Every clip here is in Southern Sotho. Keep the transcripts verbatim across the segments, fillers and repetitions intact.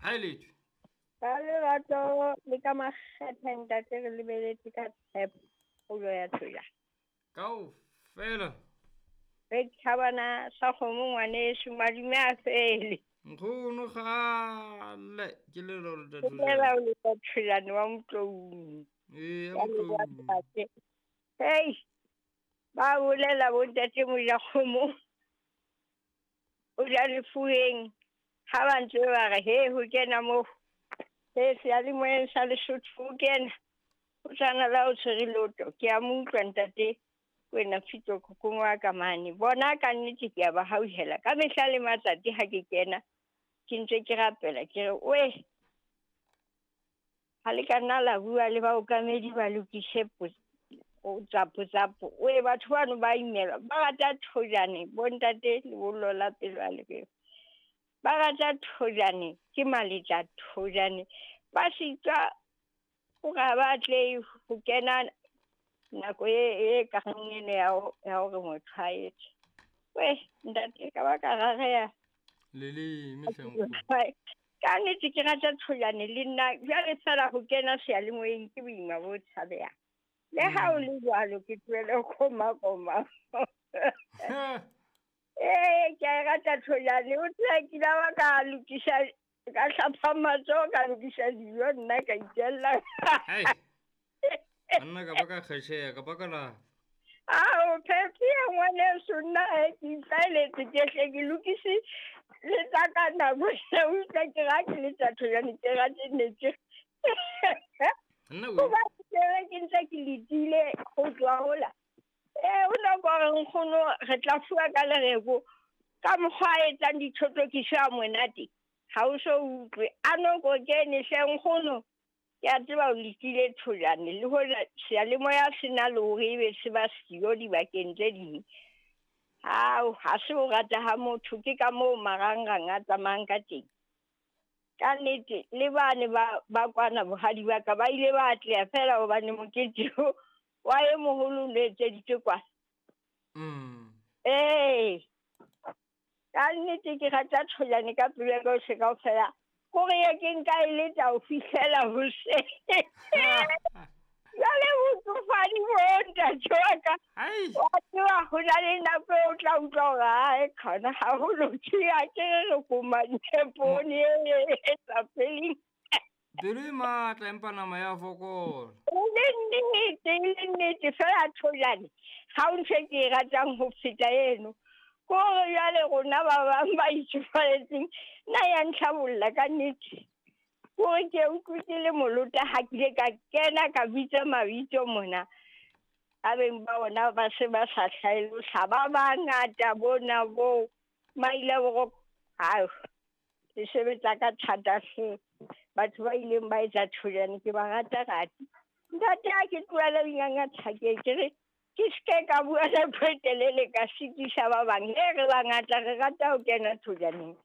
Ha e letho. Ka lerato le ka makgethe ntate re lebeletse ka tshepo kgolo ya Thoja. Kaofela. Re thabana sa kgomo ngwaneso madume a fele. Nkgono kgale ke le lore Ke fela o le Thojane wa Motloung. Ee, Ya leboha Motloung. ntate. Hei, ba bolela bo ntate Mojakgomo. O ja lefueng ha ba ntse ba re he ho kena moo. He seyalemoyeng sa Lesotho ho kena. O tshwana la o tshwere lotho. Ke a mo utlwa ntate Kwena Fito kokong wa ka mane. Bona ka nnete ke a ba hauhela. Ka mehla le matsatsi ha ke kena ke ntse ke rapela ke re we ha le ka nna la bua le baokamedi ba lokise tsapo tsapo. We batho bano ba imelwa ba rata Thojane bo ntate lebollo la pelo a lebelo. Ba rata Thojane ke maletja Thojane ba sitwa hore ha ba atlehe ho kena nako e e ka reng eno ya ho ya hore motho a etse. We ntate ka ba ka rareha. Leleme hle nkgono. Ka nnete ke rata Thojane le nna jwale feela ho kena seyalemoyeng ke boima bo tshabehang. Le ha o le jwalo ke tlohele ho koma-koma. Ee, ke a e rata Thojane. O tseba ke ile ba ka lokisa ka hlapa matsoho ka lokisa dijo nna ka itjella. Hai. Banna ka ba ka kgesheha ka ba ka la. Ao Phephi ngwaneso nna he ke itlwaeletse ke hle ke lokise le tsa ka nako eo utlwa ke ra ke letsa Thojane ke rate netse. Nna we. Hobane ke re ke ntse ke letile ho tloha hola. Ee, o nako hore nkgono re tla fuwa ka lereko ka mokgwa a etsang dithothokiso a monate. Ha o so utlwe. A noko kene hle nkgono. Ke a tseba o letile Thojane le hoja seyalemoya se na le hore ebe se ba siyo dibakeng tse ding. Ao, ha se o rata ha motho ke ka moo marangrang a tsamayang ka teng. Ka nnete le bane ba ba kwana bohadi ba ka ba ile ba atleha feela hobane mokete o wa e moholo o no etseditswe kwana. Mm. Ee. Ka nnete ke rata Thojane ka pelo ya ka yohle kaofela. Kore ye ke nka e letsa ho fihlela hoseng. Jwale botsofadi bo ntate wa ka. Hai. Wa tseba ho na le nako eo o tla utlwa hore ae khona ha ho loke a ke re re komane poone e e sa feleng. Pelo e matla empa nama ya fokola. E le nnete, e le nnete feela Thojane. Ha ho ntho e ke e ratang ho feta eno. Kore jwale rona ba bang ba itsofaletseng nna ya ntlhabolla ka nnete. Kore ke utlwe ke le molota ha ke ile ka kena ka bitsa mabitso mona. A beng ba ona ba se ba sa hlalosa ba bangata bona bo maile boroko. Hao, le sebetsa ka thata hle. Batho ba ileng ba etsa Thojane ke ba rata rati. Ntate ha ke tlohele ho ingangatha ke ke re ke ske ka bua nako e telele ka sitisa ba bang. He re bangata re rata ho kena Thojaneng.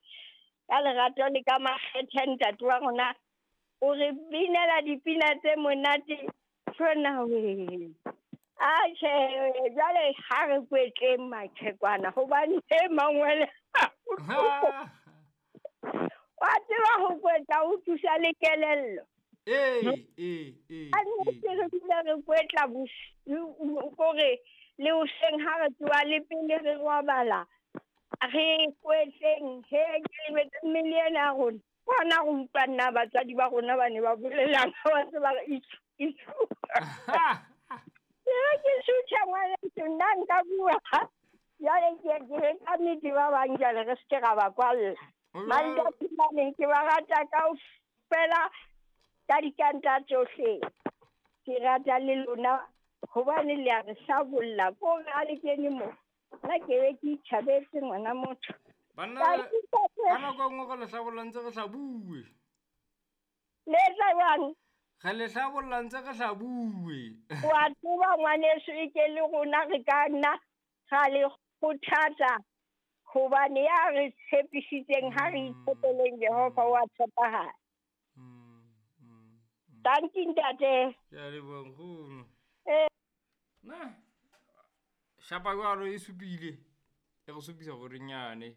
Ka lerato le ka makgethe ntate wa rona o re binela dipina tse monate tsona we. Atjhe, jwale ha re kwetleng maqhekwana hobane e mangwele. Wa tseba ho kwetla o thusa le kelello. Ee, ee, ee, Ka nnete ee. re dula re kwetla bosiu kore le hoseng ha re tsoha le pele re robala. Re kwetleng he ke lebetse mmele ena ya rona. Kwana re utlwa nna batswadi ba rona ba ne ba bolelang ba ntse ba re itjhu, itjhu. Ke re ke sutha ngwaneso nna nka bua. Jwale ke ke re ka nnete ba bang jwale re se ke ra ba kwalla. Ho jwalo. Mantathilane ke ba rata kaofela ka dikanta tsohle. Ke rata le lona hobane le a re hlabolla. Kore ha le kene mo nna ke be ke itjhabetse ngwana motho. Banna Ka re ntate. ka nako e nngwe re le hlabolla ntse re sa bue. Le etsa jwang? Re le hlabolla ntse re sa bue. Wa tseba ngwaneso e ke le rona re ka nna ra le kgothatsa hobane ya re tshepisitseng ha re itshepeleng Jehova wa tshepahala. Mm, mm, mm. Tanki ntate. Ke a leboha nkgono. Eh. Na shapa jwalo e supile. E re supisa hore nyane.